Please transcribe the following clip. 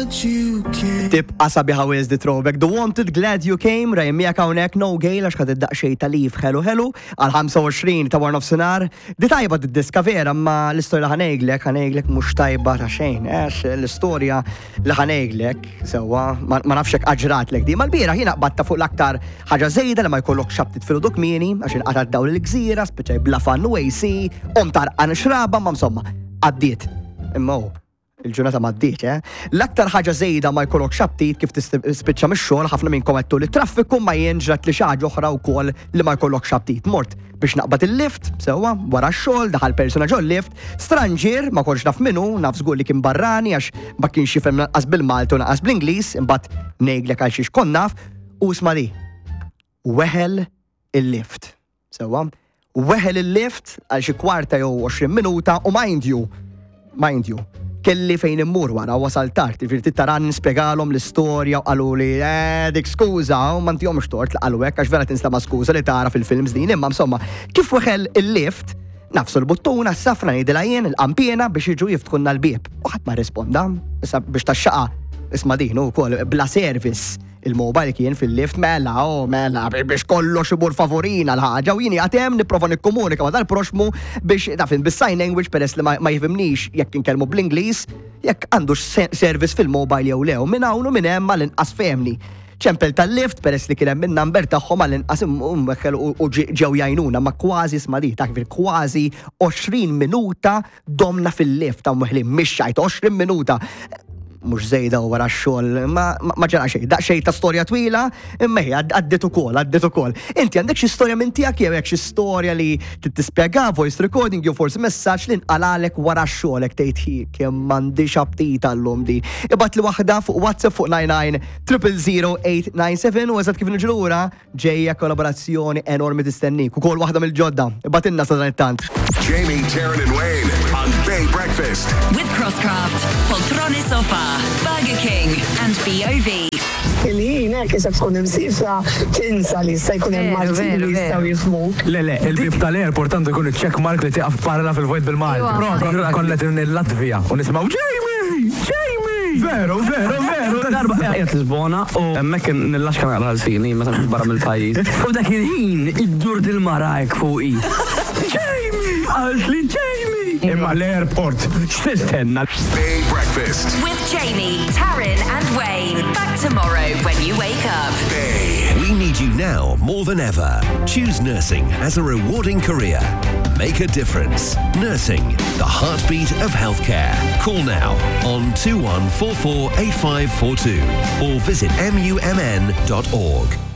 Tibqa sabiħa wisq di throwback. The Wanted, Glad You Came, Ryan miegħek hawnhekk no gale għax ħadet daqsxejn ta' leave ħelu ħelu għal 25 ta' wara nofsinhar. Di tajba di diska vera, ma l-istorja li ħa ngħidlek, ħa ngħidlek mhux tajba ta' xejn. Għax l-istorja li ħa ngħidlek, sewwa, ma nafx hekk ġratlek di. Ma l-bieraħ jiena qbadta fuq l-aktar ħaġa żejda li ma jkollokx aptit filgħodu kmieni għax inqata' dawl il-gżira, spiċċaj bla fan u AC, qomt għarqan xraba, ma insomma, għaddiet. Imma hu, Il-ġurnata m'għaddietx, eh? L-aktar ħaġa żejda ma jkollokx aptit kif tispiċċa mix-xogħol, ħafna minnkom għedtu li traffiku ma jien ġrat li xi ħaġa oħra wkoll li ma jkollokx aptit. Mort biex naqbad il-lift, sewwa, wara x-xogħol, daħal persuna ġol lift, stranġier, ma kontx naf min hu, naf żgur li kien barrani għax ma kienx jifhem lanqas bil-Malti u lanqas bl-Ingliż, imbagħad ngħidlek għal xiex kont naf, u isma' di. Weħel il-lift. Sewwa, weħel il-lift għal xi kwarta jew 20 minuta u mind you, mind you, kelli fejn immur wara wasal tard, jiġifieri trid tara nispjegalhom l-istorja u qaluli eh dik skuża u ma ntihomx tort li qalu hekk għax vera tinstema' skuża li tara fil-films din imma insomma kif weħel il-lift nafsu l-buttuna s-safra ngħidilha jien il-qanpiena biex jiġu jiftħulna l-bieb u ħadd ma rrisponda. Issa biex tax-xaqa isma' din ukoll bla service Il-mobile kien fil-lift mela, oh mela, biex kollox imur favorina l-ħaġa u jien qiegħed hemm nipprova nikkomunika ma' dal-proxmu biex taf int bis-sign language peress li ma jifhimnix jekk inkellmu bl-Ingliż, jekk għandux service fil-mobile jew le u minn hawn u minn hemm għall-inqas fehmni. Ċempel tal-lift peress li kien hemm in-number tagħhom għall-inqas imweħħel u ġew jgħinuna ma kważi isma' di taf kważi 20 minuta Domna fil-lift hawn weħlin mhix xajt 20 minuta. Mhux żejda u wara x-xogħol, ma ma ġara xejn. Daqsxejn ta' storja twila, imma hi għaddiet ukoll, għaddiet ukoll. Inti għandek xi storja minn tiegħek jew hekk xi storja li trid tispjega, voice recording jew forsi messaġġ li nqalalek wara x-xogħol hekk tgħid hi kemm m'għandix aptit għallum di. Ibgħatli waħda fuq WhatsApp fuq 99 000 897 u eżatt kif niġu lura Ġejja kollaborazzjoni enormi tistennik, ukoll waħda mill-ġodda. Ibgħatilna sadanittant. Jamie, Taryn and Wayne on Bay Breakfast. With Crosscraft, Poltrone Sofa, Burger King and BOV. Il-ħin hekk isek tkun imsifra tinsa li jista' jkun hemm Maltin li jistgħu jifhmuk. Le, le, il-bieb tal-airport għandu jkun iċ-check mark li tieqaf tparla fil-vojt bil-Malti. Propju konna qegħdin il-Latvija u nisimgħu Jamie! Jamie! Veru, veru, veru. Darba qiegħed Lisbona u hemmhekk nillaxka naqra lsini meta nkun barra mill-pajjiż. U dak il-ħin iddur dil-mara hekk fuqi. Jamie! Qaltli Jamie! Imma l-airport x'tistenna? Bay Breakfast. With Jamie, Taryn and Wayne. Back tomorrow when you wake up. Bay. We need you now more than ever. Choose nursing as a rewarding career. Make a difference. Nursing, the heartbeat of healthcare. Call now on 2144 8542 or visit mumn.org.